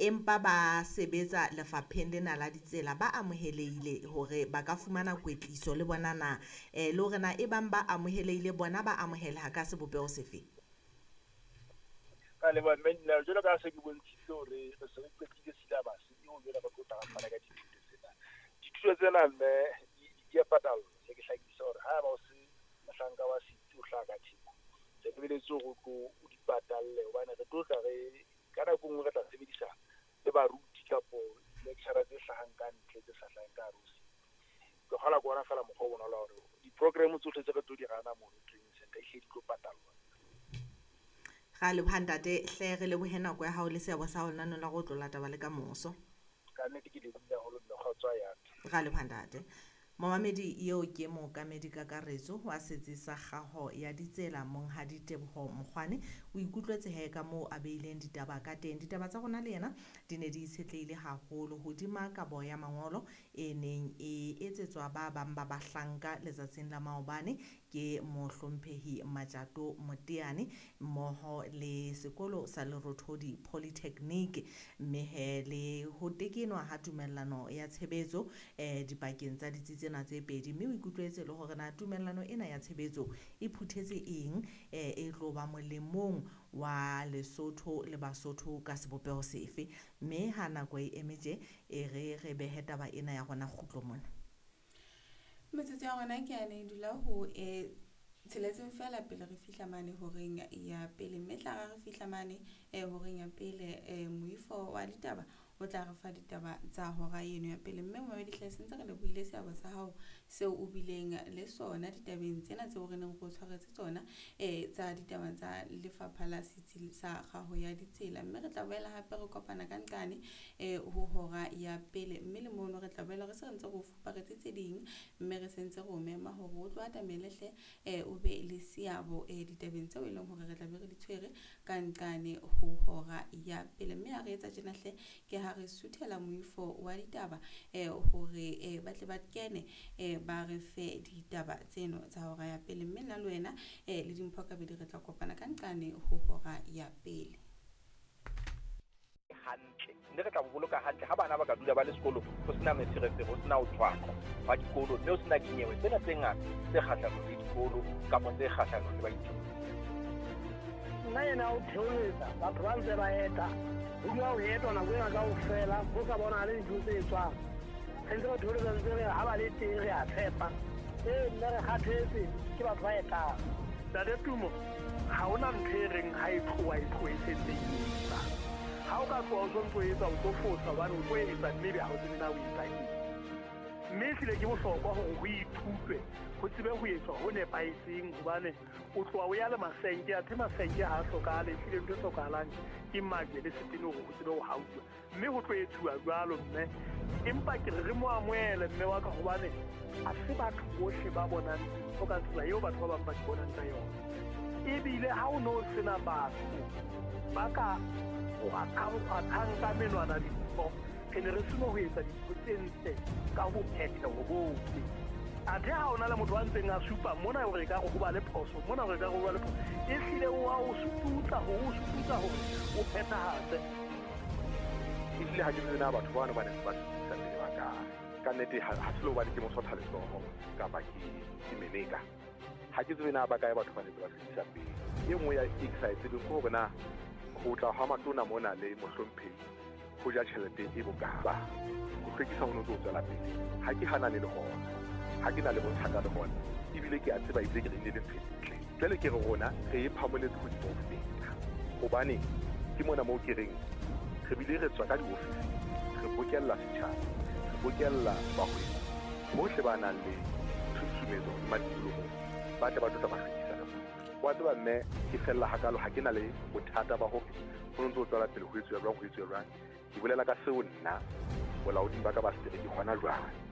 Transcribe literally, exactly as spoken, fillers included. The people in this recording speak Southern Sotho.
empa ba sebetsa lefapheng lena la ditsela ba amohelehile hore ba ka fumana kwetliso le bona na, eh le hore na e bang ba amohelehile bona ba amoheleha ka sebopeho sefe? Ka leboha mme nna jwalo ka se ke bontshitse hore re se re qetile syllabus eo jwale re tlo tla re fana ka dithuto tsena. Dithuto tsena mme di di a patallwa. Se ke hlakisa hore ha ba o se mohlanka wa setsi o hlaha ka thepa, re lebeletse hore o tlo o di patalle hobane re tlo tla re ka nako e nngwe re tla sebedisa le baruti kapo lecturer tse hlahang ka ntle tse sa hlaheng ka hare ho setsi. Ke kgolwa ke ona feela mokgwa o bonolo wa hore di-program tsohle tse re tlo di rana mono training center ehlile di tlo patallwa. Ra leboha ntate hle, re lebohe nako ya hao le seabo sa hao lenaneng la go tlola taba le ka moso. Ka nnete ke lebohile haholo mme kgotso ya ka. Ra leboha ntate. Momamedi eo ke mookamedi kakaretso wa setsi sa kgaho ya ditsela Monghadi Teboho Mokgwane. O ikutlwetse he ka moo a beileng ditaba ka teng. Ditaba tsa rona le yena di ne di itshetlehile haholo hodima kabo ya mangolo e neng e etsetswa ba bang ba bahlanka letsatsing la maobane ke mohlomphehi Matjato Moteane mmoho le sekolo sa Lerothodi Polytechnic, mme he le ho tekenwa ha tumellano ya tshebetso eh dipakeng tsa ditsi tsena tse pedi. Mme o ikutlwetse le hore na tumellano ena ya tshebetso e phuthetse eng, eh, e tlo ba molemong wa Lesotho le Basotho ka sebopeho sefe. Mme ha nako e eme tje, e re re behe taba ena ya rona kgutlo mona. Metsotso ya rona ke yane e dula ho e tsheletseng feela pele re fihla mane horeng ya pele, mme tla re re fihla mane eh horeng ya pele eh moifo wa ditaba o tla re fa ditaba tsa hora eno ya pele. Mme momamedi hle se ntse re lebohile seabo sa hao seo o bileng le sona ditabeng tsena tseo re neng re o tshwaretse tsona eh tsa ditaba tsa lefapha la setsi sa kgaho ya ditsela. Mme re tla boela hape re kopana ka nqane eh ho hora ya pele, mme le mono re tla boela re se re ntse re o fuparetse tse ding, mme re sentse re o mema hore o tlo atamele hle eh o be le seabo eh ditabeng tseo e leng hore re tla be re di tshwere ka nqane ho hora ya pele. Mme ha re etsa tjena hle ke ha re suthela moifo wa ditaba eh hore eh ba tle ba kene eh ba re fe ditaba tseno tsa hora ya pele. Mme nna le wena eh le Dimpho Kabedi re tla kopana ka nqane ho hora ya pele. Hantle mme re tla bo boloka hantle ha bana ba ka dula ba le sekolo ho sena meferefere, ho sena ho tshwaqwa wa dikolo, mme ho sena dinyewe tsena tse ngata tse kgahlanong le dikolo kapa tse kgahlanong le baithuti. Nna yena o theoletsa batho ba ntse ba eta, ho dula ho etwa nako ena kaofela, ho sa bonahale dintho tse etswang. Re ntse re theoletsa ntse re ha ba le teng re a tshepa. Ee, mme re kgathetse ke batho ba etang. Ntate Tumo, ha hona ntho e reng ha e tloha e tlohe e sentse e etsa. Ha o ka tloha o sontso etsa, o tlo fosa hobane o tlo etsa mme ebe ha o tsebe na o etsa eng. Mme ehlile ke bohlokwa hore ho ithutwe, ho tsebe ho etswa ho nepahetseng hobane o tloha o ya le masenke, athe masenke ha a hlokahale, ehlile ntho e hlokahalang ke majwe le setene hore ho tsebe ho hauwa. Mme ho tlo etsuwa jwalo mme, empa ke re re mo amohele mme wa ka hobane ha se batho bohle ba bonang dintho ka tsela eo batho ba bang ba di bonang ka yona. Ebile ha o no sena batho ba ka o athang ka menwana dintho, re ne re seno ho etsa dintho tse ntle ka ho phetheho bohle. Athe ha ona le motho a ntseng a supa mona hore ekare ho ba le phoso, mona hore ekare ho ba le phoso, ehlile o a o sututsa hore o sututsa hore o phethahatse. Ehlile ha ke tsebe na batho bano ba ne ba sutusa pele ba kae. Ka nnete ha ha se le hobane ke mosotha letsoho kapa ke ke meleka. Ha ke tsebe na ba kae batho ba ne ba sutusa pele. E nngwe ya e ke sa e tsebeng ke hore na ho tla ha matona mona le mohlomphehi ho ja tjhelete e bokae. Ho hlwekisa ho no tlo tswela pele. Ha ke hanane le hona, ha ke na le bothata le hona, ebile ke a tseba ebile ke re ile le ntho e ntle. Jwale ke re rona re e phamoletse hodimo ho feta. Hobane ke mona moo ke reng re bile re tswa ka diofising, re bokella setjhaba, re bokella bahwebi bohle ba nang le tshusumetso hodima tikoloho, ba tle ba tlo tla ba hlwekisa ka mona. Wa tseba mme ke fella hakalo, ha ke na le bothata ba hore ho ntso tswela pele ho etsuwa jwang, ho etsuwa jwang. Ke bolela ka seo nna bolaoding ba ka ba setereke hona jwale.